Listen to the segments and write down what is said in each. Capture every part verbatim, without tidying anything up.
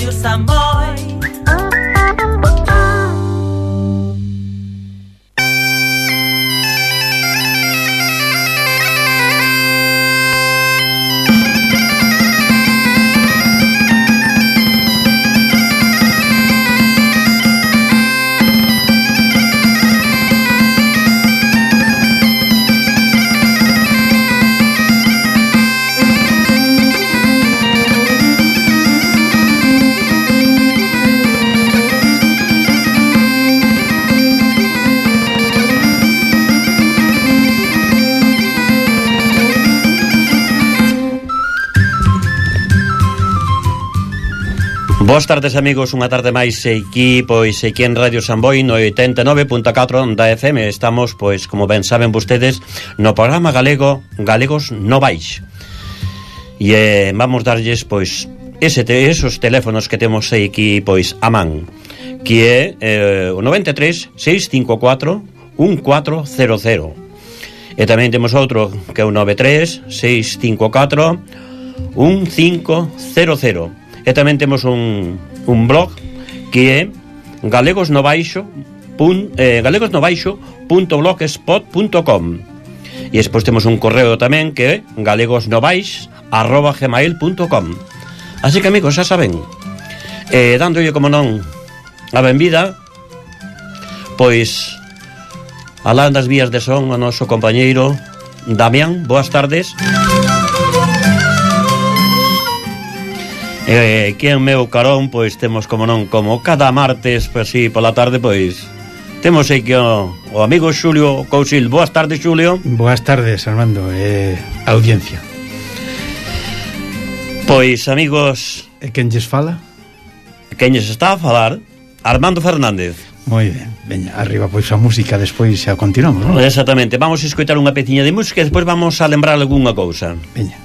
Radio Samboy. Boas tardes, amigos, unha tarde máis aquí, pois, aquí en Radio Samboy no oitenta e nove punto catro da F M. Estamos, pois, como ben saben vostedes, no programa galego Galegos Novais. E eh, vamos darlles, pois, ese te, esos teléfonos que temos aquí, pois, a man, que é eh, o noventa e tres, seiscentos e cincuenta e catro, catorce cero cero. E tamén temos outro que é o noventa e tres, seiscentos e cincuenta e catro, quince cero cero. E tamén temos un, un blog que é galegosnovaixo eh, galegosnovaixo punto blogspot punto com. E despois temos un correo tamén que é galegosnovais arroba gmail punto com. Así que, amigos, xa saben, eh, dándolle, como non, a benvida, pois, alá das vías de son o noso compañeiro Damián. Boas tardes. E eh, que en meu carón, pois, temos, como non, como cada martes, pois, si, pola tarde, pois, temos aquí o, o amigo Xulio Cousil. Boas tardes, Xulio. Boas tardes, Armando, eh, audiencia. Pois, amigos... E quen lles fala? Quen lles está a falar? Armando Fernández. Moi ben, veña, arriba, pois, a música, despois xa continuamos, non? Exactamente, vamos a escoitar unha peciña de música e despois vamos a lembrar algunha cousa. Veña.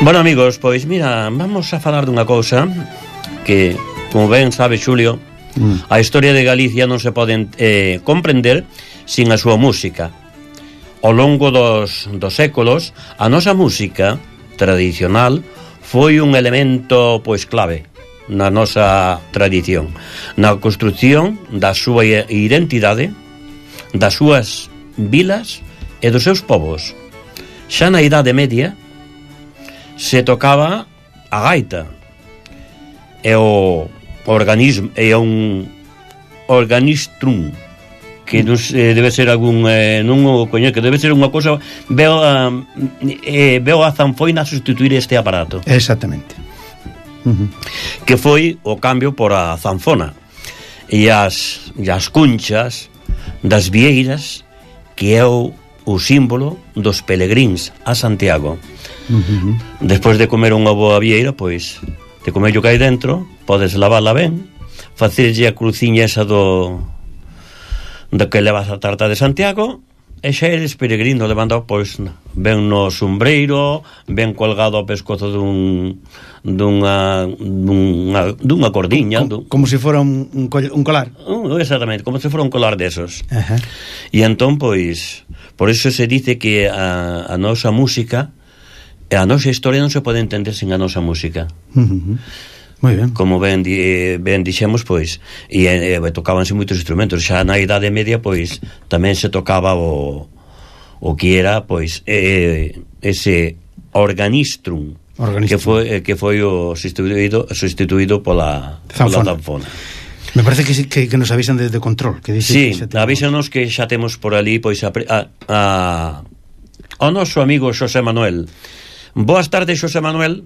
Bueno, amigos, pois mira, vamos a falar dunha cousa que, como ben sabe Xulio, mm. a historia de Galicia non se pode eh, comprender sin a súa música. Ao longo dos, dos séculos, a nosa música tradicional foi un elemento, pois, clave na nosa tradición, na construción da súa identidade, das súas vilas e dos seus povos. Xa na Idade Media se tocaba a gaita e o organismo e un organistrum que non se, debe ser algún eh, non o coño, que debe ser unha cousa veo a, eh, veo a zanfoina sustituir este aparato. Exactamente. Uh-huh. Que foi o cambio por a zanfona e as, e as cunchas das vieiras, que é o, o símbolo dos pelegríns a Santiago. Uh-huh. Despois de comer unha boa vieira, pois de comer o que hai dentro, podes lavarla ben, facerlle a cruciña esa do do que levas a tarta de Santiago E xa eres peregrino levando, pois, ben no sombreiro, ben colgado ao pescozo dun dunha dunha, dunha cordiña, como, como se fora un, un, un colar. Uh, exactamente, como se fora un colar desos. Uh-huh. E entón, pois, por eso se dice que a, a nosa música, a nosa historia non se pode entender sen a nosa música. Uh-huh. Moi ben. Como ben, di, ben dixemos, pois, e, e tocábanse moitos instrumentos. Xa na Idade Media, pois, tamén se tocaba o, o que era, pois, eh, ese organistrum, organistrum, que foi que foi o sustituído sustituído pola zanfona. Pola zanfona. Me parece que, que, que nos avisan desde control, que dice sí, que avísanos que xa temos por ali, pois, a, a, a ao noso amigo Xosé Manuel. Boas tardes, Xosé Manuel.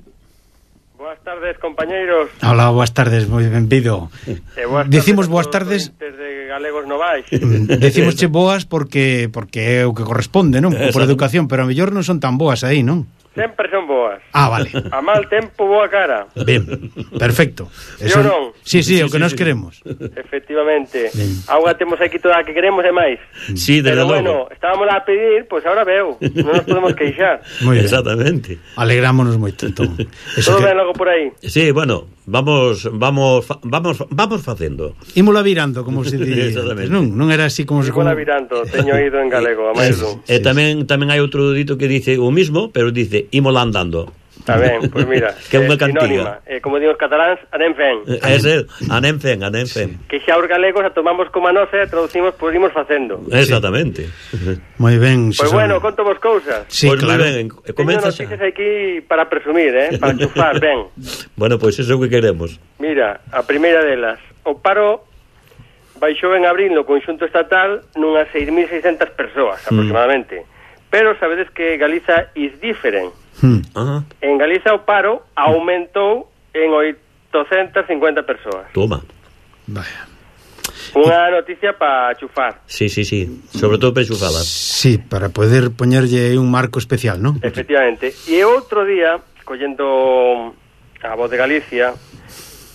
Boas tardes, compañeiros. Hola, boas tardes, moi benvido. Eh, boas Decimos tardes boas tardes de Galegos Novais. Decimosche boas porque porque é o que corresponde, non? Por educación, pero a mellor non son tan boas aí, non? Sempre son boas. Ah, vale. A mal tempo, boa cara. Ben, perfecto. Eso non? Sí, sí, sí, o que sí, nos sí. queremos. Efectivamente. Agora temos aquí toda a que queremos e máis. Sí, desde pero logo. bueno, estábamos a pedir, pois pues ahora veo. Non nos podemos queixar. Muy bien. Exactamente. Alegrámonos moito, entón. Eso todo que... ben logo por aí. Sí, bueno, vamos vamos vamos vamos facendo. Ímola virando, como se di. Non, non era así como se Ímola virando, teño ido en galego, a máis dun. E tamén tamén hai outro dito que dice o mismo, pero dice ímola andando. Está ben, pois pues mira, que é unha cantiga. Eh, como digo os cataláns, anem fen. Ese, anem fen, anem fen. Que xa os galegos a tomamos como a nosa e traducimos, pois imos facendo. Exactamente. Moi ben. Pois pues bueno, conto vos cousas. Sí, pues claro. Ben, comeza xa. Teño noticias aquí para presumir, eh, para chufar, ben. Bueno, pois pues eso é o que queremos. Mira, a primeira delas, o paro baixou en abril no conxunto estatal nunhas seis mil seiscentas persoas, aproximadamente. Mm. Pero sabedes que Galiza is different. Hmm. Uh-huh. En Galiza o paro aumentou en oitocentas cincuenta persoas. Toma. Vaya. Unha noticia para chufar. Sí, sí, sí. Sobre todo para chufadas. Sí, para poder poñerlle un marco especial, ¿no? Efectivamente. E outro día, collendo a Voz de Galicia,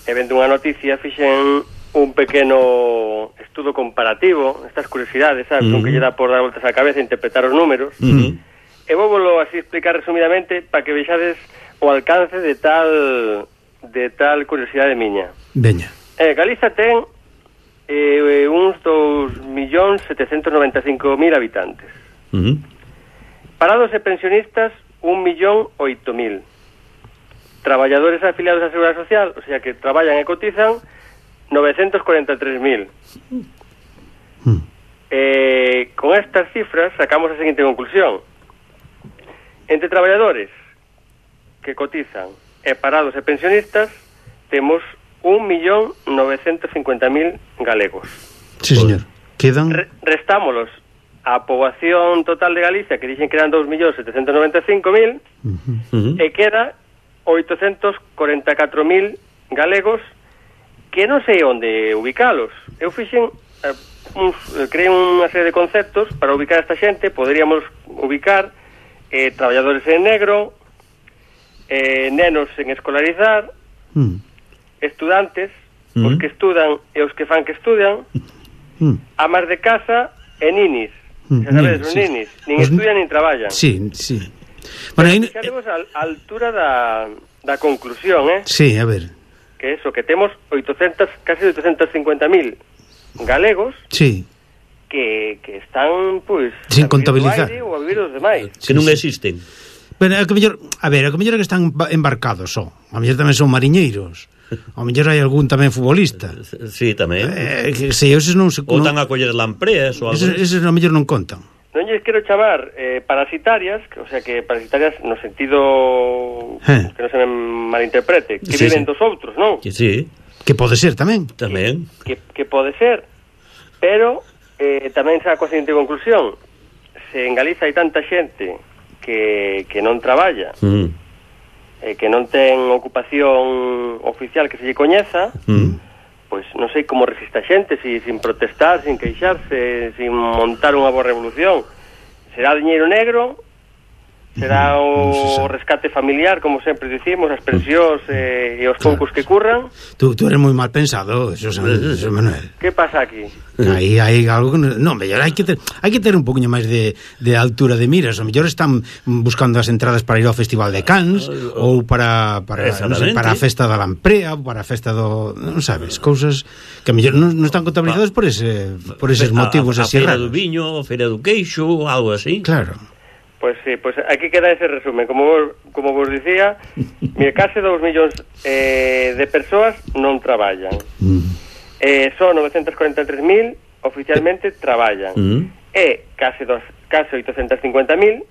e vendo unha noticia, fixen un pequeno estudo comparativo, estas curiosidades, sabes, uh-huh. un que lle dá por dar voltas á cabeza e interpretar os números. Uh-huh. E vou volo así explicar resumidamente para que vexades o alcance de tal de tal curiosidade miña. Veña. Eh, Galiza ten eh, uns dous millóns setecentos noventa e cinco mil habitantes. Uh-huh. Parados e pensionistas, un millón oito mil. Traballadores afiliados á Seguridade Social, o sea que traballan e cotizan, novecentos cuarenta e tres mil. Hmm. Eh, con estas cifras sacamos a seguinte conclusión. Entre traballadores que cotizan e parados e pensionistas temos un millón novecentos cincuenta mil galegos. Sí, señor. Quedan... Re restámolos a poboación total de Galicia, que dixen que eran dos millóns setecentos noventa e cinco mil, uh-huh. e queda oitocentos cuarenta e catro mil galegos que non sei onde ubicalos. Eu fixen eh, uns, creei unha serie de conceptos para ubicar a esta xente. Poderíamos ubicar eh, traballadores en negro, eh, nenos en escolarizar, mm. estudantes, mm. os que estudan e os que fan que estudan, mm. amas de casa e ninis. Mm. Xa sabedes, os sí. ninis, nin os estudian nin traballan. Sí, sí. Bueno, aí... Xa temos a, a altura da, da conclusión, eh? Sí, a ver. Que eso, que temos oitocentos, casi oitocentos cincuenta mil galegos. Sí. Que, que están, pois, pues, sin contabilizar ou a vivir os demais. Que non existen. Bueno, a, que mellor, a ver, a que mellor é que están embarcados só. A mellor tamén son mariñeiros. A mellor hai algún tamén futbolista. Sí, tamén. Eh, que se esos non se ou tan a coller lampreas ou algo. Esos, esos a mellor non contan. Non lles quero chamar eh, parasitarias, o sea que parasitarias no sentido eh. que non se me malinterprete, que sí, viven sí. dos outros, non? Que sí. Que pode ser tamén. Tamén. Que, que pode ser, pero eh, tamén saco a seguinte conclusión. Se en Galiza hai tanta xente que, que non traballa, mm. eh, que non ten ocupación oficial que se lle coñeza, mm. pois non sei como resiste a xente, si, sin protestar, sin queixarse, sin montar unha boa revolución. Será diñeiro negro, será o rescate familiar, como sempre dicimos, as pensións e, e os poucos que curran. Tú, tú eres moi mal pensado, eso, eso Manuel. Que pasa aquí? Aí hai algo que non, no, mellor hai que ter, hai que ter un poquinho máis de, de altura de miras, o mellor están buscando as entradas para ir ao Festival de Cannes ou para para, non sei, para a festa da Lamprea, ou para a festa do, non sabes, cousas que mellor non, non están contabilizadas por ese por eses motivos a, a, así raros. A feira raros. do viño, a feira do queixo, algo así. Claro. Pois sí, pois aquí queda ese resumen. Como vos, como vos dicía, mire, case dous millóns eh, de persoas non traballan. Mm. Eh, son novecentos cuarenta e tres mil oficialmente traballan. Mm. E case, dos, case oitocentos cincuenta mil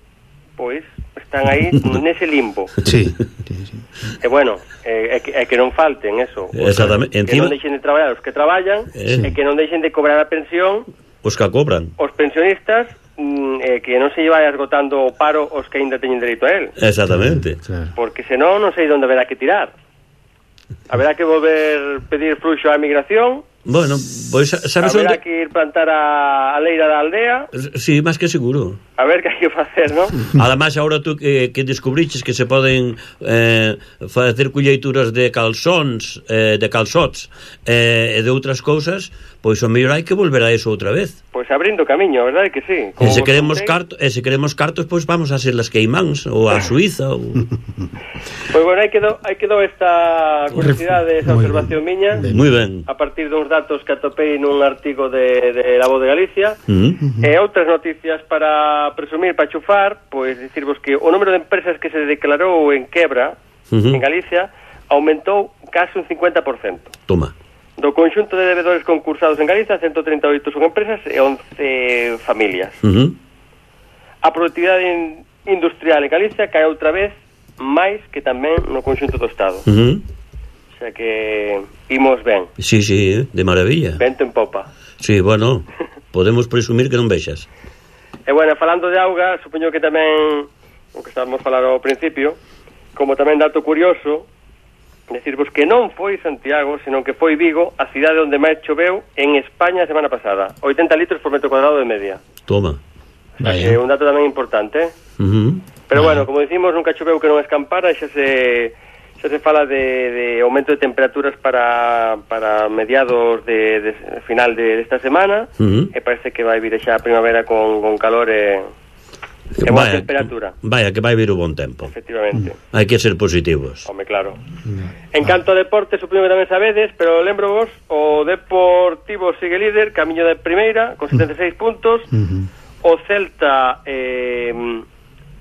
pois están aí nese limbo. Sí, sí, sí. E bueno, é, é, que, é que non falten eso. Exactamente. Que Encima... non deixen de traballar os que traballan, eh. e que non deixen de cobrar a pensión os que a cobran. Os pensionistas, mm, eh, que non se vai esgotando o paro os que ainda teñen dereito a él. Exactamente. Claro. Porque senón non sei onde haberá que tirar. Haberá que volver pedir fluxo á emigración. Bueno, pois sabes onde... Haberá onde... que ir plantar a, a leira da aldea. Sí, máis que seguro. A ver que hai que facer, non? Ademais, agora tú que, que descubriches que se poden eh, facer colleituras de calzóns, eh, de calzots eh, e de outras cousas, pois o mellor hai que volver a eso outra vez. Pois abrindo camiño, a verdade que sí. E se queremos cartos, e se queremos cartos, pois vamos a ser las Queimáns ou a Suiza ou... Pois bueno, hai quedou, hai quedou esta curiosidade, esa observación miña. Moi ben. A partir duns datos que atopei nun artigo de, de La Voz de Galicia. Mm-hmm. E outras noticias para presumir, para chufar, pois dicirvos que o número de empresas que se declarou en quebra mm-hmm. en Galicia aumentou case un cincuenta por cento. Toma. Do conxunto de devedores concursados en Galicia, ciento treinta e oito son empresas e once familias. Uh-huh. A productividade in, industrial en Galicia cae outra vez máis que tamén no conxunto do Estado. Uh-huh. O sea que imos ben. Sí, sí, de maravilla. Vento en popa. Sí, bueno, podemos presumir que non vexas. E bueno, falando de auga, supoño que tamén, o que estábamos a falar ao principio, como tamén dato curioso, decirvos que non foi Santiago, senón que foi Vigo, a cidade onde máis choveu en España a semana pasada. oitenta litros por metro cuadrado de media. Toma. É un dato tamén importante, eh? Uh-huh. Pero bueno, como decimos, nunca choveu que non escampara, xa se xa se fala de, de aumento de temperaturas para, para mediados de, de final de esta semana, uh-huh. e parece que vai vir xa a primavera con, con calor e... É boa temperatura. Vaya, que vai vir o bon tempo. Efectivamente. Mm. Hai que ser positivos. Home, claro. Mm. En canto a deporte, supoño que tamén sabedes, pero lembro vos, o Deportivo sigue líder, camiño de primeira, con setenta e seis puntos. Mm-hmm. O Celta eh,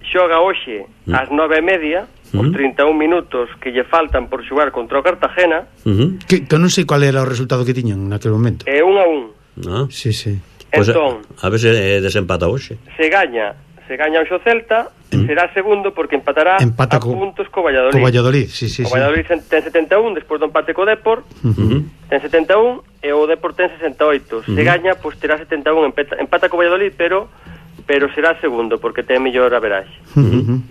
xoga hoxe mm. ás nove e media, mm-hmm. os trinta e un minutos que lle faltan por xogar contra o Cartagena. Mm-hmm. Que, que non sei qual era o resultado que tiñan naquele momento. É un a un. Ah. Sí, sí. Pues entón, a, a ver se desempata hoxe. Se gaña se gaña o Celta, mm. será segundo porque empatará Empata a co, puntos co Valladolid. Co Valladolid, sí, sí, o Valladolid sí. ten setenta e un, despois do empate co Depor, uh-huh. ten setenta e un, e o Depor ten sesenta e oito. Uh-huh. Se gaña, pois terá setenta e un, empata, empata co Valladolid, pero pero será segundo, porque ten mellor averaxe. Uh-huh.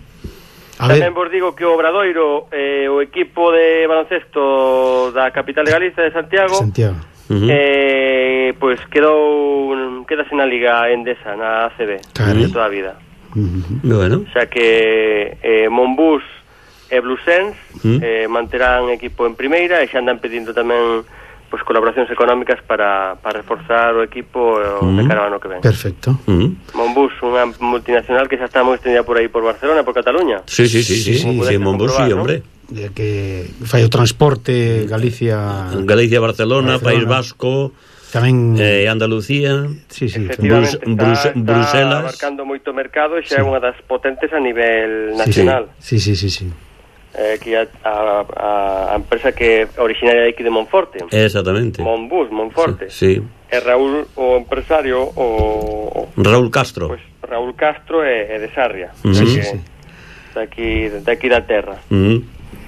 A Tamén ver. Vos digo que o Obradoiro, eh, o equipo de baloncesto da capital de Galicia, de Santiago, Santiago. Uh-huh. eh, pois quedou quedase na Liga Endesa, na A C B, de toda a vida. Uh-huh. Bueno. O sea que eh, Monbús e Blusens uh-huh. eh, manterán equipo en primeira e xa andan pedindo tamén pues, colaboracións económicas para, para reforzar o equipo uh-huh. de cara ao ano que ven. Perfecto. Uh-huh. Monbús, unha multinacional que xa está moi extendida por aí por Barcelona, por Cataluña. Sí, sí, sí, sí, sí, sí Monbús, sí, hombre. Que fai o transporte Galicia... Galicia, Barcelona, Barcelona. País Vasco... Tamén eh, Andalucía, sí, sí, Brus, Brus, está, Bruselas, está abarcando moito mercado e xa é sí. unha das potentes a nivel nacional. Sí, sí, sí, sí. Eh, que a, a, a empresa que é originaria de aquí de Monforte. Exactamente. Monbús, Monforte. Sí. sí. É Raúl o empresario o, o Raúl Castro. Pues, Raúl Castro é, é de Sarria. Uh-huh. Sí, sí, sí. sí. De aquí, de aquí da terra. Uh-huh.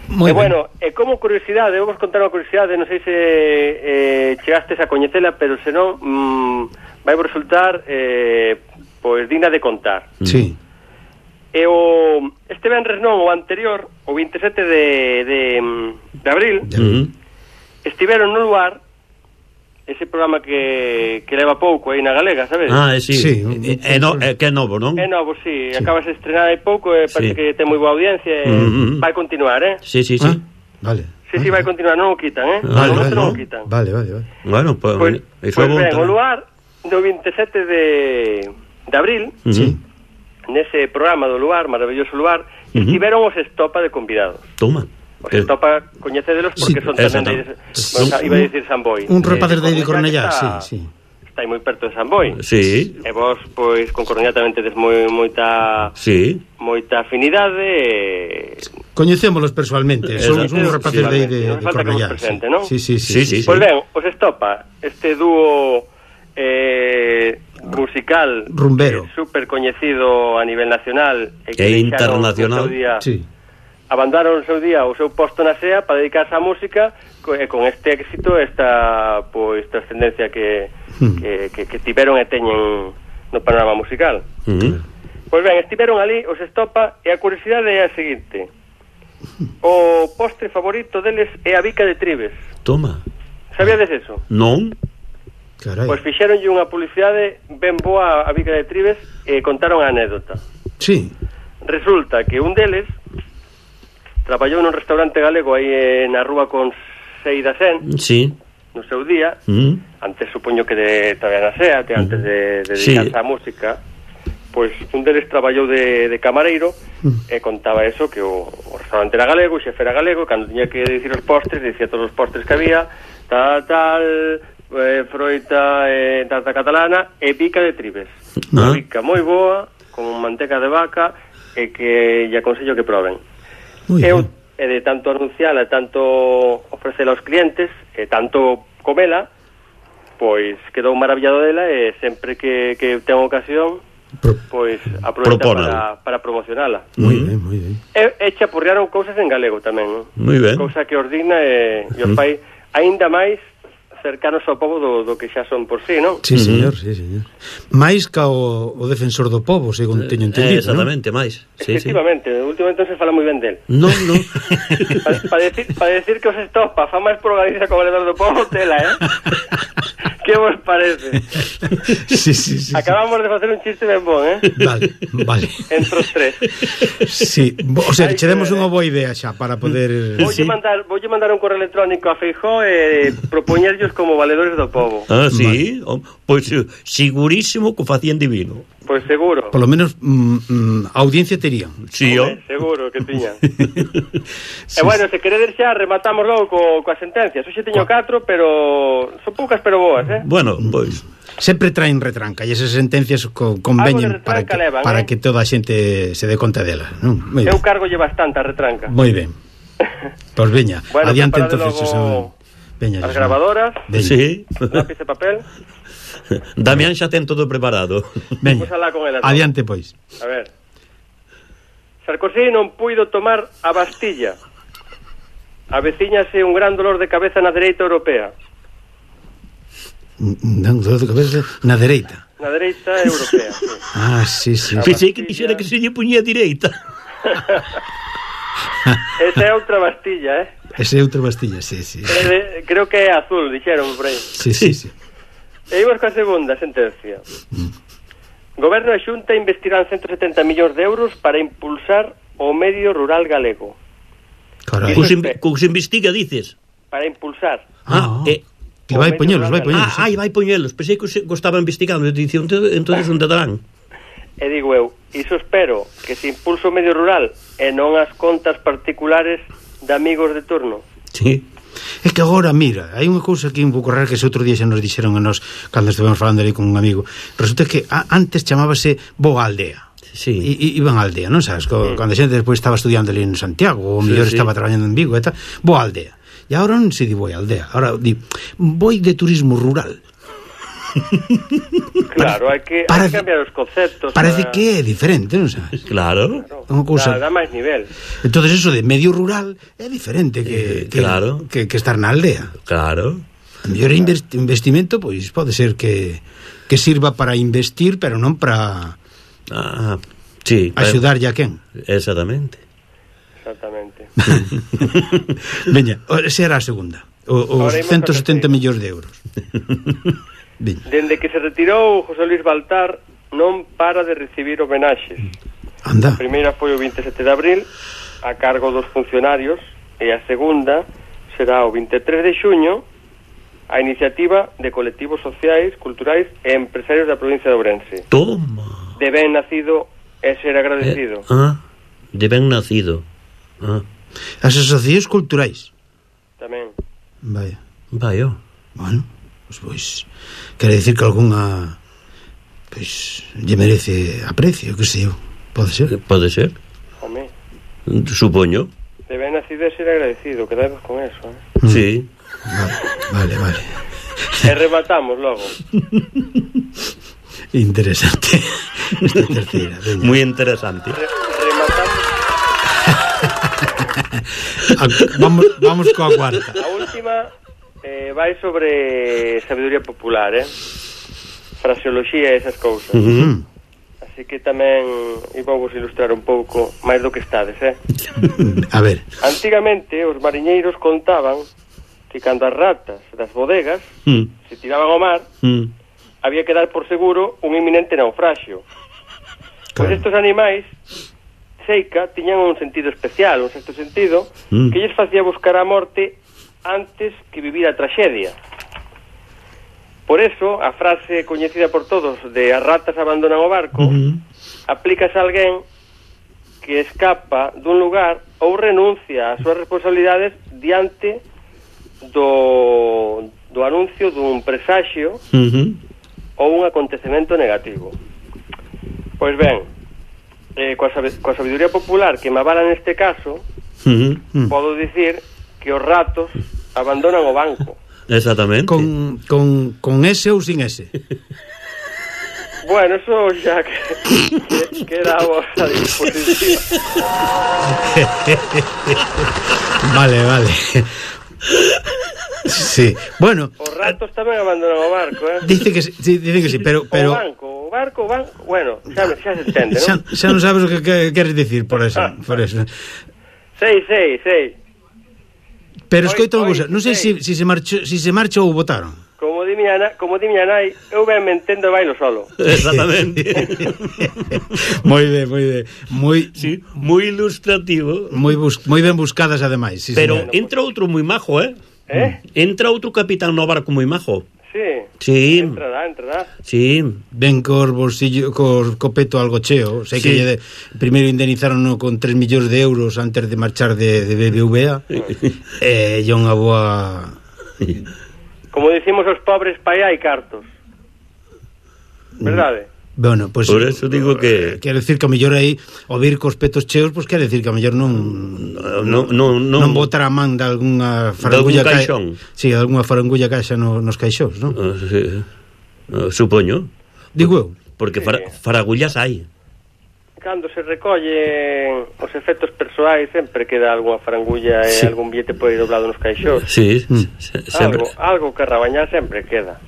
Moi e bueno, e como curiosidade, vamos contar unha curiosidade, non sei se eh, chegastes a coñecela, pero senón mm, vai resultar eh, pois digna de contar. Sí. E o este venres non, o anterior, o veintisiete de, de, de abril, uh-huh. estiveron no lugar ese programa que, que leva pouco aí na Galega, sabes? Ah, sí, sí. É, no, é que é novo, non? É novo, sí, sí. acabas de estrenar hai pouco e parece Sí. que ten moi boa audiencia e Mm-hmm. vai continuar, eh? Sí, sí, sí. Ah, vale. Sí, sí, vai continuar, non o quitan, eh? Vale, No vale, non o vale, quitan. vale, vale, vale. Bueno, pues, Pois eso pues é bo ben, o tamén. lugar do veintisiete de, de abril, Sí. nese programa do lugar, maravilloso lugar, Ujú. estiveron os Estopa de convidados. Toma. Os Estopa, coñecedelos porque Sí, son tamén exacto. de, bueno, iba a decir San Boi. Un rapaces de Coruña, Cornellá, que sí, está- sí. Está aí moi perto de San Boi. Sí, E vos, pois, con Coruña tamén tedes moi, moita sí. moita afinidade e... Coñecémolos persoalmente, son Exacto. uns rapaces de, de, Non de falta que vos Cornellá. presente, sí. non? Sí, sí, Sí, sí. sí, Pois ben, os Estopa, este dúo eh, musical Rumbero. eh, super coñecido a nivel nacional e que E deixaron o internacional. seu día, Sí. abandonaron o seu día o seu posto na S E A para dedicarse á música co- e con este éxito, esta pois trascendencia que, Hmm. que, que, que tiveron e teñen no panorama musical. Uh-huh. Pois ben, estiveron ali os Estopa e a curiosidade é a seguinte: o postre favorito deles é a bica de Tribes. Toma. Sabíades eso? Non? Carai. Pois fixeronlle unha publicidade ben boa a bica de Tribes e contaron a anécdota. Sí. Resulta que un deles traballou nun restaurante galego aí eh, na rúa con Seida Sen Sí. no seu día, Uh-huh. antes supoño que de traballar na SEAT, antes de, de dedicarse Sí. á música. Pois un deles traballou de, de camareiro e contaba eso, que o, o restaurante era galego, o xefe era galego, e cando tiña que dicir os postres, dicía todos os postres que había, tal, tal, eh, froita, eh, tarta catalana e bica de Tribes. Unha Ah. bica moi boa, con manteca de vaca, e que lle aconsello que proben. Muy Eu, bien. e de tanto anunciala, e tanto ofrecela aos clientes, e tanto comela, pois quedou maravillado dela, e sempre que, que ten ocasión, Pro- pois aproveita Propónala. para, para promocionala. Muy Mm. bien, muy bien. E, e chapurrearon cousas en galego tamén, non? Moi ben. Cousa que os digna e, e os Mm. fai aínda máis cercanos ao povo do, do que xa son por sí, non? Sí, Ujú. señor, sí, señor. máis ca o, o defensor do povo, según teño entendido, Eh, exactamente, máis. Sí, sí. Efectivamente, últimamente non se fala moi ben del. Non, non. Para pa decir, pa decir que os Estopa fa máis por Galicia como valedor do povo, tela, eh? Que vos parece? sí, sí, sí, Acabamos de facer un chiste ben bon, eh? sí. Vale, vale. Entre os tres. Sí, bo- o sea, Ai, che demos que- unha boa idea xa para poder... Voulle mandar, voulle mandar un correo electrónico a Feijóo e propoñerllos como valedores do povo. Ah, sí? Vale. Pois pues, segurísimo que o facían divino. Pois seguro. Por lo menos mm, mm, audiencia terían. Sí, Home, o. seguro que tiñan. Sí, E bueno, se queredes xa rematamos logo co, coas sentencias. Hoxe teño catro, pero son poucas pero boas, eh? Bueno, pois. Sempre traen retranca e esas sentencias co, Algo de conveñen para retranca que, levan, para eh? que toda a xente se dé conta dela, non? Moi Eu ben. cargolle bastante a retranca. Moi ben. Pois veña, Bueno, adiante preparade entonces, logo Xosé. Veña, as Xosé. grabadoras, Veña. Sí. lápiz e papel. Damián xa ten todo preparado. Veña. Vamos a alá con elas. Adiante, pois. A ver. Sarkozy non puido tomar a Bastilla. Avecíñase un gran dolor de cabeza na dereita europea. Dan dolor de cabeza na dereita. Na dereita europea, sí. Ah, sí, sí. A Pensei que Bastilla. dixera que se lle puñía direita. Esa é outra Bastilla, eh? Ese é outra Bastilla, sí, sí. É de, creo que é azul, dixeron por aí. Sí, sí, sí. E imos coa segunda sentencia. Goberno e Xunta investirán ciento setenta millóns de euros para impulsar o medio rural galego. Carai. Iso Cos, é in, fe. cos investiga, dices. Para impulsar. Ah, eh, que vai poñelos, vai poñelos. Ah, ai, vai poñelos. Pensei que os- que os estaba investigando. Dicía, entonces onde darán? E digo eu, iso espero que se impulse o medio rural e non as contas particulares de amigos de turno. Sí. É que agora, mira, hai unha cousa que un pouco rara que ese outro día xa nos dixeron a nós cando estivemos falando ali con un amigo. Resulta que a, antes chamábase Boa Aldea. Sí. I, i, iban á aldea, non sabes? Co, Sí. Cando a xente despois estaba estudiando ali en Santiago, ou Sí, mellor sí. estaba traballando en Vigo e tal, Boa Aldea. E agora non se di Boa Aldea, agora di Boi de turismo rural. Claro, hai que, hai parece- que cambiar os conceptos. Parece para- que é diferente, non sabes? Claro. unha cousa- Dá, dá máis nivel. Entonces eso de medio rural é diferente que, Eh, que, claro. que, que estar na aldea. Claro. A mellor invest, investimento, pois pode ser que que sirva para investir, pero non para Ah, sí. axudarlle a quen. Exactamente. Exactamente. Veña, esa era a segunda. os ciento setenta millóns de euros. Dende que se retirou José Luis Baltar non para de recibir homenaxes. Anda. A primeira foi o vinte e sete de abril a cargo dos funcionarios e a segunda será o vinte e tres de xuño a iniciativa de colectivos sociais, culturais e empresarios da provincia de Ourense. Toma. De ben nacido e ser agradecido. Eh, ah, de ben nacido. Ah. As asociacións culturais. Tamén. Vaya. Vaya. Bueno, pois, pois quere dicir que algunha pois lle merece aprecio, que sei eu. Pode ser? Pode ser. Home. Supoño. De ben nacido e ser agradecido, quedamos con eso, eh? Mm. Sí. Vale, vale, vale. E rematamos logo. Interesante. Esta terceira. Muy interesante. Re rematamos. vamos, vamos coa cuarta. A última eh, vai sobre sabiduría popular, eh? Fraseoloxía e esas cousas. Uh -huh. Así que tamén vou vos ilustrar un pouco máis do que estades, eh? A ver. Antigamente os mariñeiros contaban que cando as ratas das bodegas mm. se tiraban ao mar, mm. había que dar por seguro un inminente naufraxio. Claro. Pois estes animais seica tiñan un sentido especial, un sexto sentido, mm. que lles facía buscar a morte antes que vivir a traxedia. Por eso, a frase coñecida por todos de as ratas abandonan o barco, uh-huh. aplícase a alguén que escapa dun lugar ou renuncia ás súas responsabilidades diante do, do anuncio dun presaxio uh-huh. ou un acontecemento negativo. Pois ben, eh, coa, coa sabiduría popular que me avala neste caso, uh-huh. podo dicir que os ratos abandonan o banco. Exactamente. Con, con, con ese ou sin ese? Bueno, eso ya que, que, queda a vosa disposición. Vale, vale. Sí, bueno. Os ratos tamén abandonan o barco, eh? Dice que sí, dice que sí, pero... pero... O banco, o barco, o banco... Bueno, xa, xa se entende, xa, non? Xa non sabes o que, que queres dicir por eso, por eso. Sei, sei, sei. Pero escoita unha cousa, non sei se si, si se marchou, si se marcha ou votaron. Como di miña nai, como di miña nai, eu ben me entendo bailo solo. Exactamente. Moi ben, moi ben. Moi sí, moi ilustrativo. Moi bus, moi ben buscadas ademais, sí, pero señor. Entra outro moi majo, eh? Eh? Entra outro capitán no barco moi majo. Sí. Sí. Entrará, entrará. Sí. Ben cor bolsillo, cor copeto algo cheo. Sei sí. que lle de, primeiro indemnizaron con tres millóns de euros antes de marchar de, de B B V A. E eh, unha boa... Como dicimos os pobres, pai hai cartos. Verdade? Bueno, pues, por eso digo que... Quero decir que a mellor aí o vir cos petos cheos, pois pues, quero decir que a mellor non non, non, non, non botar a man de algunha farangulla de caixón. Ca... Sí, de algunha farangulla caixa no, nos caixóns, non? Uh, sí. uh, supoño. Digo eu. Porque sí. fara, faragullas hai. Cando se recolle os efectos persoais sempre queda algunha farangulla e sí. algún billete por aí doblado nos caixóns. Sí, mm. se, sempre. Algo, algo que rabañar sempre queda.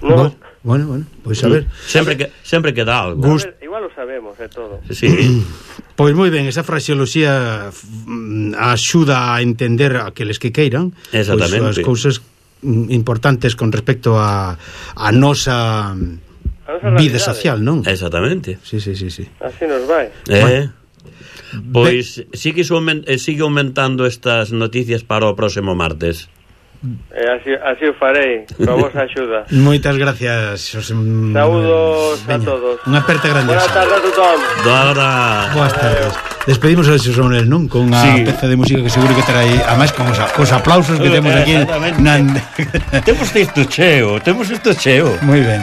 Non? Bueno. Bueno, bueno, pois pues a ver. Sempre que sempre queda algo. Gust... Ver, igual lo sabemos, é eh, todo. Sí. Pois moi ben, esa fraseoloxía axuda a entender a aqueles que queiran exactamente pois, as cousas importantes con respecto a a nosa, a nosa vida social, non? Exactamente. Sí, sí, sí, sí. Así nos vai. Eh. Bueno. Pois sigue, sigue aumentando estas noticias para o próximo martes. E así, así o farei, con a vosa axuda. Moitas gracias, Xosé. Saúdos a todos. Unha aperta grande. Buenas tardes a todos. Dora. Boas tardes. Despedimos a Xosé Manuel, non? Con a sí. peza de música que seguro que trae, además con os, os aplausos que temos aquí. Temos isto cheo, temos isto cheo. Moi ben.